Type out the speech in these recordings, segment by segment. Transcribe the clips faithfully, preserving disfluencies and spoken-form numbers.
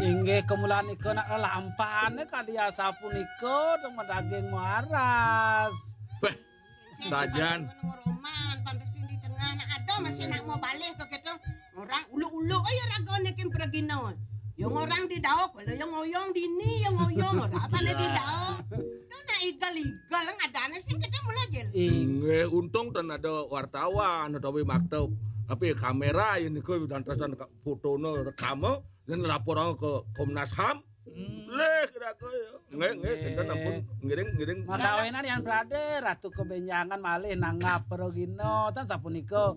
Inggih, kemulanika nak lelampahane kadi asapunika, dong madaging maras. Beh, sajan. Roman, pantes di tengah nak ada masih nak mau balik ke kita. Orang uluk-uluk aja ragane kim pergino. Yang orang di dauk, kalau yang oyong dini, yang oyong, ora apa di dauk. Itu nak igal-igal, yang ada sih kita mulai gel. Ing Nggih, untung ten ada wartawan utawi maktab. Tapi kamera ini ke dantasan fotone rekame dan laporan ke Komnas HAM. Leh kira ke ya. Nggih, nggih, kita ampun ngiring ngiring. Makawinan yang berade ratu kebenjangan malih nanggap pergino tan sapunika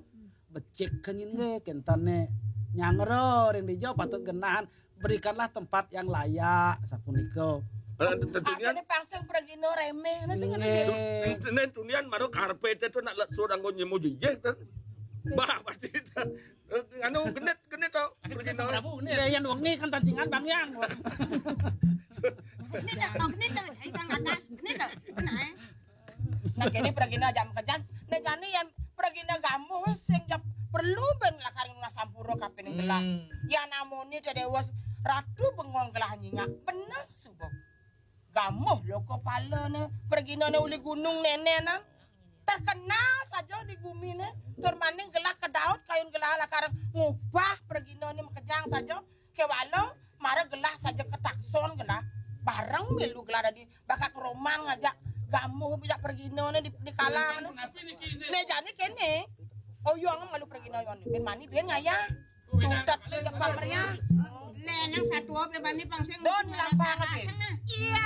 becik kenying nggih kentane nyangro ring dijo patut genahan berikanlah tempat yang layak sapunika. Eh, Tentunya Akhirnya pangsing pergino remeh. Nah, sing Nggih. Ini tunian maro karpet itu nak lek suruh anggo nyemu jijik kan. Bah pasti itu. Eh, anu genit genit tau. Pergi sama. Ya yang wengi kan tancingan Bang Yang. Ini dah, oh, ini dah, ini dah atas, ini dah, kena eh. Nah, kene pergino aja makejang. Nah, jani yang pergino gamuh sing jep perlu ben lakar ngasampura kapining gelah. Ya namune te dewa ratu bengong gelah nyingak. Bener suba. Gamuh lo kepala ne pergino ne uli gunung nene nang. Terkenal saja di gumi ne. Tur maning gelah kedaut kayun gelah lakar ngubah pergino ne makejang saja. Kewala mara gelah saja ketakson gelah. Bareng milu gelah dadi bakat roman ngajak gamuh bijak pergino ne di, di kalang ne. Ne jani kene. Oyong malu pergino yon. Ben mani ben ngaya. Cutet le jebak meriah. Le nang satu apa bani pangsing. Don lampar ke. Iya,